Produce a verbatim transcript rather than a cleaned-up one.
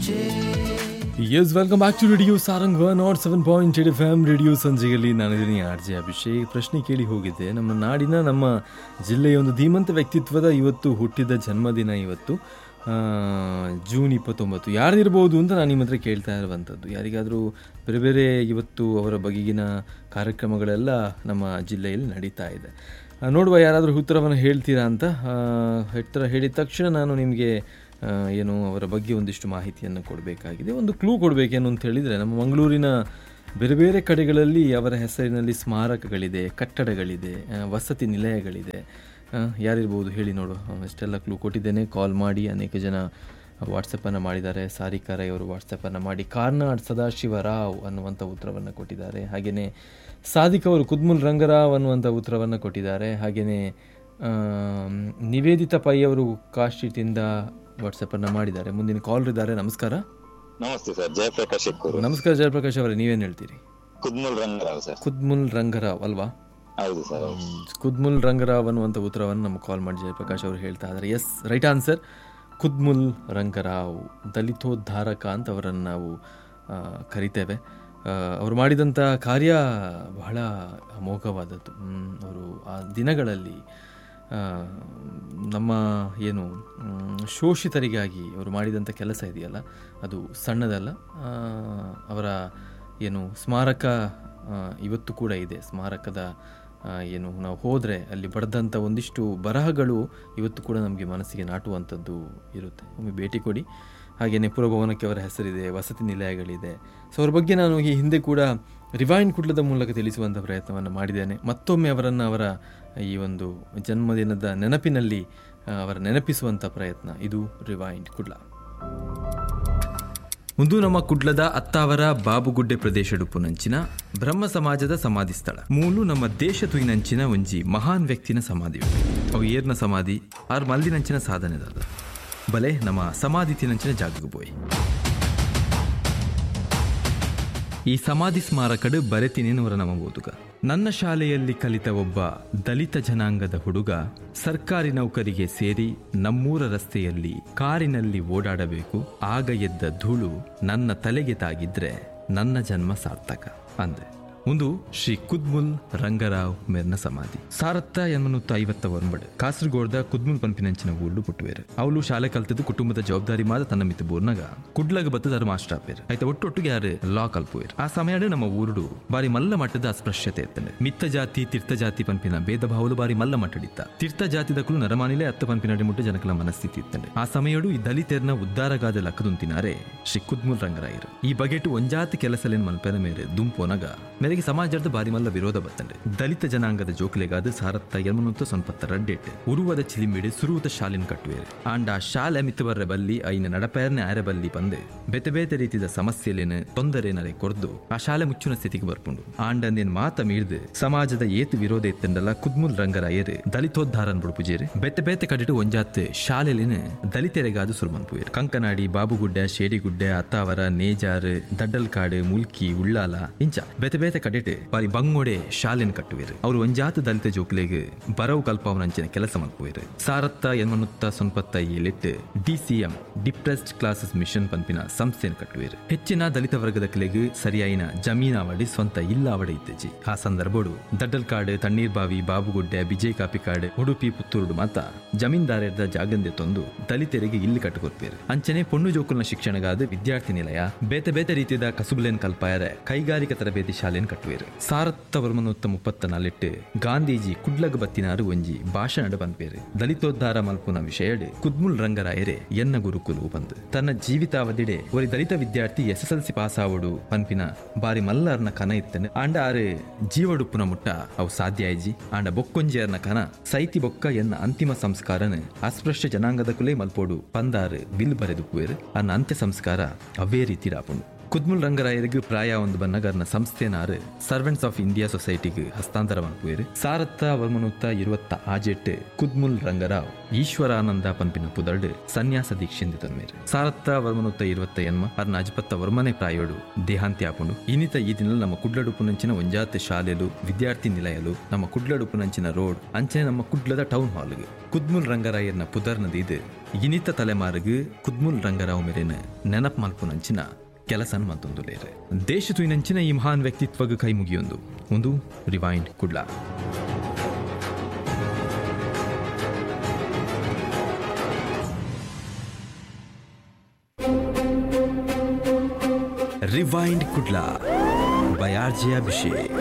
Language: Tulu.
Yes welcome back to Radio Sarang one nought seven point eight F M radio ಸಂಜೆಯಲ್ಲಿ ನಾನಿದ್ದೀನಿ ಆರ್ ಜೆ ಅಭಿಷೇಕ್. ಪ್ರಶ್ನೆ ಕೇಳಿ ಹೋಗಿದ್ದೆ, ನಮ್ಮ ನಾಡಿನ ನಮ್ಮ ಜಿಲ್ಲೆಯ ಒಂದು ಧೀಮಂತ ವ್ಯಕ್ತಿತ್ವದ ಇವತ್ತು ಹುಟ್ಟಿದ ಜನ್ಮದಿನ ಇವತ್ತು ಜೂನ್ ಇಪ್ಪತ್ತೊಂಬತ್ತು. ಯಾರಿರ್ಬೋದು ಅಂತ ನಾನು ನಿಮ್ಮ ಹತ್ರ ಕೇಳ್ತಾ ಇರುವಂಥದ್ದು. ಯಾರಿಗಾದರೂ ಬೇರೆ ಬೇರೆ ಇವತ್ತು ಅವರ ಬಗೆಗಿನ ಕಾರ್ಯಕ್ರಮಗಳೆಲ್ಲ ನಮ್ಮ ಜಿಲ್ಲೆಯಲ್ಲಿ ನಡೀತಾ ಇದೆ. ನೋಡುವ ಯಾರಾದರೂ ಉತ್ತರವನ್ನು ಹೇಳ್ತೀರಾ ಅಂತ. ಉತ್ತರ ಹೇಳಿದ ತಕ್ಷಣ ನಾನು ನಿಮಗೆ ಏನು ಅವರ ಬಗ್ಗೆ ಒಂದಿಷ್ಟು ಮಾಹಿತಿಯನ್ನು ಕೊಡಬೇಕಾಗಿದೆ, ಒಂದು ಕ್ಲೂ ಕೊಡಬೇಕೇನು ಅಂತ ಹೇಳಿದರೆ, ನಮ್ಮ ಮಂಗಳೂರಿನ ಬೇರೆ ಬೇರೆ ಕಡೆಗಳಲ್ಲಿ ಅವರ ಹೆಸರಿನಲ್ಲಿ ಸ್ಮಾರಕಗಳಿದೆ, ಕಟ್ಟಡಗಳಿದೆ, ವಸತಿ ನಿಲಯಗಳಿದೆ. ಯಾರಿರ್ಬೋದು ಹೇಳಿ ನೋಡುವ. ಅಷ್ಟೆಲ್ಲ ಕ್ಲೂ ಕೊಟ್ಟಿದ್ದೇನೆ. ಕಾಲ್ ಮಾಡಿ ಅನೇಕ ಜನ ವಾಟ್ಸಪ್ಪನ್ನು ಮಾಡಿದ್ದಾರೆ. ಸಾರಿಕಾ ರೈ ಅವರು ವಾಟ್ಸಪ್ಪನ್ನು ಮಾಡಿ ಕಾರ್ನಾಡ್ ಸದಾಶಿವರಾವ್ ಅನ್ನುವಂಥ ಉತ್ತರವನ್ನು ಕೊಟ್ಟಿದ್ದಾರೆ. ಹಾಗೆಯೇ ಸಾದಿಕ್ ಅವರು ಕುದ್ಮುಲ್ ರಂಗರಾವ್ ಅನ್ನುವಂಥ ಉತ್ತರವನ್ನು ಕೊಟ್ಟಿದ್ದಾರೆ. ಹಾಗೆಯೇ ನಿವೇದಿತಾ ಪೈ ಅವರು ಕಾಶಿಟಿಂದ ವಾಟ್ಸಪ್ಪನ್ನು ಮಾಡಿದ್ದಾರೆ. ಮುಂದಿನ ಕಾಲರ್ ಇದ್ದಾರೆ. ನಮಸ್ಕಾರ. ನಮಸ್ತೆ ಸರ್, ಜಯಪ್ರಕಾಶ್. ನಮಸ್ಕಾರ ಜಯಪ್ರಕಾಶ್ ಅವರೇ, ನೀವೇನು ಹೇಳ್ತೀರಿ? ಕುದ್ಮುಲ್ ರಂಗರಾವ್ ಸರ್. ಕುದ್ಮುಲ್ ರಂಗರಾವ್ ಅಲ್ವಾ? ಹೌದು ಸರ್, ಕುದ್ಮುಲ್ ರಂಗರಾವ್ ಅನ್ನುವಂಥ ಉತ್ತರವನ್ನು ನಮಗೆ ಕಾಲ್ ಮಾಡಿ ಜಯಪ್ರಕಾಶ್ ಅವರು ಹೇಳ್ತಾ ಇದ್ದಾರೆ. Yes, right answer Kudmul Rangarao, ದಲಿತೋದ್ಧಾರಕ ಅಂತ ಅವರನ್ನು ನಾವು ಕರಿತೇವೆ. ಅವರು ಮಾಡಿದಂಥ ಕಾರ್ಯ ಬಹಳ ಅಮೋಘವಾದದ್ದು. ಅವರು ಆ ದಿನಗಳಲ್ಲಿ ನಮ್ಮ ಏನು ಶೋಷಿತರಿಗಾಗಿ ಅವರು ಮಾಡಿದಂಥ ಕೆಲಸ ಇದೆಯಲ್ಲ, ಅದು ಸಣ್ಣದಲ್ಲ. ಅವರ ಏನು ಸ್ಮಾರಕ ಇವತ್ತು ಕೂಡ ಇದೆ. ಸ್ಮಾರಕದ ಏನು ನಾವು ಹೋದರೆ ಅಲ್ಲಿ ಬರೆದಂಥ ಒಂದಿಷ್ಟು ಬರಹಗಳು ಇವತ್ತು ಕೂಡ ನಮಗೆ ಮನಸ್ಸಿಗೆ ನಾಟುವಂಥದ್ದು ಇರುತ್ತೆ. ಒಮ್ಮೆ ಭೇಟಿ ಕೊಡಿ. ಹಾಗೆಯೇ ಪುರಭವನಕ್ಕೆ ಅವರ ಹೆಸರಿದೆ, ವಸತಿ ನಿಲಯಗಳಿದೆ. ಸೊ ಅವ್ರ ಬಗ್ಗೆ ನಾನು ಈ ಹಿಂದೆ ಕೂಡ ರಿವೈಂಡ್ ಕುಡ್ಲದ ಮೂಲಕ ತಿಳಿಸುವಂಥ ಪ್ರಯತ್ನವನ್ನು ಮಾಡಿದ್ದೇನೆ. ಮತ್ತೊಮ್ಮೆ ಅವರನ್ನು ಅವರ ಈ ಒಂದು ಜನ್ಮದಿನದ ನೆನಪಿನಲ್ಲಿ ಅವರ ನೆನಪಿಸುವಂಥ ಪ್ರಯತ್ನ ಇದು ರಿವೈಂಡ್ ಕುಡ್ಲ. ಒಂದು ನಮ್ಮ ಕುಡ್ಲದ ಅತ್ತಾವರ ಬಾಬುಗುಡ್ಡೆ ಪ್ರದೇಶಡುಪುನಂಚಿನ ಬ್ರಹ್ಮ ಸಮಾಜದ ಸಮಾಧಿ ಸ್ಥಳ ಮೂಲು ನಮ್ಮ ದೇಶ ತುಯಿನಂಚಿನ ಒಂಜಿ ಮಹಾನ್ ವ್ಯಕ್ತಿನ ಸಮಾಧಿ. ಅವು ಏರ್ನ ಸಮಾಧಿ ಆರ್ ಮಲ್ದಿನಂಚಿನ ಸಾಧನೆದಾದ ಬಲೆ ನಮ್ಮ ಸಮಾಧಿ ತಿನಂಚಿನ ಜಾಗಕ್ಕೆ ಪೋಯಿ. ಈ ಸಮಾಧಿ ಸ್ಮಾರಕಡು ಬರೆತಿನೇನವರ ನಮ್ಮ ಓದುಗ. ನನ್ನ ಶಾಲೆಯಲ್ಲಿ ಕಲಿತ ಒಬ್ಬ ದಲಿತ ಜನಾಂಗದ ಹುಡುಗ ಸರ್ಕಾರಿ ನೌಕರಿಗೆ ಸೇರಿ ನಮ್ಮೂರ ರಸ್ತೆಯಲ್ಲಿ ಕಾರಿನಲ್ಲಿ ಓಡಾಡಬೇಕು, ಆಗ ಎದ್ದ ಧೂಳು ನನ್ನ ತಲೆಗೆ ತಾಗಿದ್ರೆ ನನ್ನ ಜನ್ಮ ಸಾರ್ಥಕ ಅಂದೆ. ಒಂದು ಶ್ರೀ ಕುದ್ಮುಲ್ ರಂಗರಾವ್ ಮೇರ್ನ ಸಮಾಧಿ. ಸಾರತ್ತ ಎನ್ಮನೂತ್ತ ಐವತ್ತ ಒಂಬಡು ಕಾಸರಗೋಡ್ದ ಕುದ್ಮುಲ್ ಪಂಪಿನಂಚಿನ ಊರ್ಡು ಪುಟ್ಟುವೇರು. ಅವಳು ಶಾಲೆ ಕಲ್ತದ್ದು ಕುಟುಂಬದ ಜವಾಬ್ದಾರಿ ಮಾದ ತನ್ನ ಮಿತ್ತು ಬೋರ್ನಗ ಕುಡ್ಲಗ ಬತ್ತದಾರು ಮಾಸ್ಟರ್ ಆಪೇರು. ಆಯ್ತ ಒಟ್ಟೊಟ್ಟಿಗೆ ಯಾರು ಲಾ ಕಲ್ಪುವೇರು. ಆ ಸಮಯ ನಮ್ಮ ಊರುಡು ಬಾರಿ ಮಲ್ಲ ಮಟ್ಟದ ಅಸ್ಪೃಶ್ಯತೆ ಇತ್ತಂಡೆ. ಮಿತ್ತ ಜಾತಿ ತೀರ್ಥ ಜಾತಿ ಪಂಪಿನ ಭೇದ ಭಾವಲು ಬಾರಿ ಮಲ್ಲ ಮಟ್ಟಡಿತ್ತ. ತೀರ್ಥ ಜಾತಿದಕ್ಕೂ ನರಮಾನಿಲೆ ಅತ್ತ ಪಂಪಿನ ಮುಟ್ಟ ಜನಕಲ ಮನಸ್ಥಿತಿ ಇತ್ತಂಡೆ. ಆ ಸಮಯಡು ಈ ದಲಿತೆರ್ನ ಉದ್ದಾರಗಾದ ಲಕ್ಕದುಂತಿನಾರೆ ಶ್ರೀ ಕುದ್ಮುಲ್ ರಂಗರಾಯರು. ಈ ಬಗೆಟು ಒಂಜಾತಿ ಕೆಲಸಲೇನ್ ಮಲ್ಪೆನ ಮೇರೆ ದುಂಪೋನಗ ಮೇರೆಗೆ ಸಮಾಜದ ಬಾರಿ ಮಲ್ಲ ವಿರೋಧ ಬತ್ತಂಡೆ. ದಲಿತ ಜನಾಂಗದ ಜೋಕ್ಲೆಗಾದ ಸಾರತ್ತ ಎಲ್ಮನೂತ್ತ ಸೊನ್ಪತ್ತ ರಡ್ಡೆಟ್ ಉರುವದ ಚಿಲಿಂಬಿಡೆ ಸುರುವತ ಶಾಲಿನ ಕಟ್ಟುವೇರು. ಆಂಡ ಶಾಲೆ ಮಿತ್ತು ಬರ್ರೆ ಬಲ್ಲಿ ಐನ ನಡಪೇರ್ನೆ ಆರೆ ಬಲ್ಲಿ ಪಂದೆ ಬೇತೆ ಬೇತೆ ರೀತಿದ ಸಮಸ್ಯೆಲೇನು ತೊಂದರೆ ನರೆ ಕೊರ್ದು ಆ ಶಾಲೆ ಮುಚ್ಚುನ ಸ್ಥಿತಿಗೆ ಬರ್ಪುಂಡು. ಆಂಡಂದೇನ್ ಮಾತ ಮೀರ್ದು ಸಮಾಜದ ಏತು ವಿರೋಧ ಎತ್ತಂಡಲ್ಲ ಕುದ್ಮುಲ್ ರಂಗರಾಯರು ದಲಿತೋದ್ಧಾರನ್ ಬುಡುಪುಜೇರು. ಬೇತೆ ಬೇತೆ ಕಡಿಟು ಒಂಜಾತ್ ಶಾಲೆಲೇನು ದಲಿತೆರೆಗಾದು ಸುರುಮನ್ಪುವೇರು. ಕಂಕನಾಡಿ, ಬಾಬುಗುಡ್ಡೆ, ಶೇಡಿಗುಡ್ಡೆ, ಅತ್ತಾವರ, ನೇಜಾರು, ದಡ್ಡಲ್ಕಾಡು, ಮುಲ್ಕಿ, ಉಳ್ಳಾಲ ಇಂಚ ಬೇತೆ ಬೇತೆ ಕಡೆಟ್ ಬಾರಿ ಬಂಗೋಡೆ ಶಾಲೆನ್ ಕಟ್ಟುವೇರು. ಅವರು ಒಂಜಾತ ದಲಿತ ಜೋಕ್ಲೆಗ್ ಬರವು ಕಲ್ಪಾವನಂಚಿನ ಕೆಲಸ ಮಲ್ಪುವೇರು. ಸಾರತ್ತ ಎನ್ಮನುತ್ತ ಸೊನ್ಪತ್ತ ಏಳೆಟ್ಟು ಡಿಸಿಎಂ ಡಿಪ್ರೆಸ್ಡ್ ಕ್ಲಾಸಸ್ ಮಿಷನ್ ಪಂಪಿನ ಸಂಸ್ಥೆಯನ್ನು ಕಟ್ಟುವೇರು. ಹೆಚ್ಚಿನ ದಲಿತ ವರ್ಗದ ಕ್ಲೆಗ್ ಸರಿಯಾಯಿನ ಜಮೀನಾವಡಿ ಸ್ವಂತ ಇಲ್ಲಾವಡೆ ಇತ್ತೆಜಿ. ಆ ಸಂದರ್ಭಡು ದಡ್ಡಲ್ಕಾಡು, ತಣ್ಣೀರ್ಬಾವಿ, ಬಾಬುಗುಡ್ಡೆ, ಬಿಜಯ್ ಕಾಪಿಕಾಡು, ಉಡುಪಿ, ಪುತ್ತೂರುಡು ಮಾತ ಜಮೀನ್ದಾರರ ಜಾಗಂದೆ ತಂದು ದಲಿತರಿಗೆ ಇಲ್ಲಿ ಕಟ್ಟುಕೊರ್ಪೇರು. ಅಂಚನೆ ಪೊಣ್ಣು ಜೋಕುಲ್ನ ಶಿಕ್ಷಣಗಾದ ವಿದ್ಯಾರ್ಥಿ ನಿಲಯ, ಬೇತೆ ಬೇತೆ ರೀತಿಯ ಕಸುಬುಲೇನ್ ಕಲ್ಪಾಯರೆ ಕೈಗಾರಿಕಾ ತರಬೇತಿ ಶಾಲೆಯನ್ನು ಕಟ್ಟುವೇರು. ಸಾರತ್ತ ವರ್ಮನೂತ್ತ ಮುಪ್ಪತ್ತ ನಾಲೆಟ್ಟು ಗಾಂಧೀಜಿ ಕುಡ್ಲಗ ಬತ್ತಿನಾರು ಒಂಜಿ ಭಾಷಣ ಪನ್ಪೇರು. ದಲಿತೋದ್ಧಾರ ಮಲ್ಪುನ ವಿಷಯಡ್ ಕುದ್ಮುಲ್ ರಂಗರಾಯರೆ ಎನ್ನ ಗುರುಕುಲು ಬಂದು ತನ್ನ ಜೀವಿತಾವಧಿಡೆ ಒರಿ ದಲಿತ ವಿದ್ಯಾರ್ಥಿ S S L C pass ಆವಡು ಪನ್ಪಿನ ಬಾರಿ ಮಲ್ಲರ್ನ ಕನ ಇತ್ತನೆ. ಆಂಡ ಆರು ಜೀವಡುಪ್ಪುನ ಮುಟ್ಟ ಅವು ಸಾಧ್ಯ ಆಯ್ಜಿ. ಆಂಡ ಬೊಕ್ಕೊಂಜಿಯರ್ನ ಕನ ಸೈತಿ ಬೊಕ್ಕ ಎನ್ನ ಅಂತಿಮ ಸಂಸ್ಕಾರನ ಅಸ್ಪೃಶ್ಯ ಜನಾಂಗದ ಕುಲೇ ಮಲ್ಪೋಡು ಪಂದಾರು will ಬರೆದುಪುವೇರು. ಅನ್ನ ಅಂತ್ಯ ಸಂಸ್ಕಾರ ಅವೇ ರೀತಿ ರಾಪುಂಡು. ಕುದ್ಮುಲ್ ರಂಗರಾಯರಿಗೆ ಪ್ರಾಯ ಒಂದು ಬನ್ನಗರ್ನ ಸಂಸ್ಥೆನಾರು ಸರ್ವೆಂಟ್ಸ್ ಆಫ್ ಇಂಡಿಯಾ ಸೊಸೈಟಿಗೆ ಹಸ್ತಾಂತರ ಮಲ್ಪುವೆರು. ಸಾರತ್ತ ವರ್ಮನುತ್ತ ಇರುವತ್ತ ಆಜೆಟ್ ಕುದ್ಮುಲ್ ರಂಗರಾವ್ ಈಶ್ವರಾನಂದ ಪನ್ಪಿನ ಪುದರ್ಡ್ ಸನ್ಯಾಸ ದೀಕ್ಷೆಂದು ತನ್ಮೇರು. ಸಾರತ್ತ ವರ್ಮನುತ್ತ ಇರುವತ್ತ ಎನ್ಮ ಅರ್ನ ಅಜ್ಪತ್ತ ವರ್ಮನೆ ಪ್ರಾಯೋಡು ದೇಹಾಂತ್ಯ ಆಪುಂಡು. ಇನಿತ ಈ ದಿನ ನಮ್ಮ ಕುಡ್ಲಡುಪುನಂಚಿನ ಒಂಜಾತ್ ಶಾಲೆಲು, ವಿದ್ಯಾರ್ಥಿ ನಿಲಯಲು, ನಮ್ಮ ಕುಡ್ಲಡುಪುನಂಚಿನ ರೋಡ್ ಅಂಚನೆ ನಮ್ಮ ಕುಡ್ಲದ ಟೌನ್ ಹಾಲ್ಗೆ ಕುದ್ಮುಲ್ ರಂಗರಾಯರ್ನ ಪುದರ್ನ ದೀದ್ ಇನಿತ ತಲೆಮಾರಿಗೆ ಕುದ್ಮುಲ್ ರಂಗರಾವ್ ಮೇರೆನ ನೆನಪು ಮಲ್ಪುನಂಚಿನ ಕೆಲಸನ್ ಮಂತೊಂದುಲೇರು. ದೇಶ ತುಯಿನಂಚಿನ ಈ ಮಹಾನ್ ವ್ಯಕ್ತಿತ್ವಗ್ ಕೈ ಮುಗಿಯೊಂದು ಒಂದು rewind Kudla. Rewind Kudla by R J Abhishek.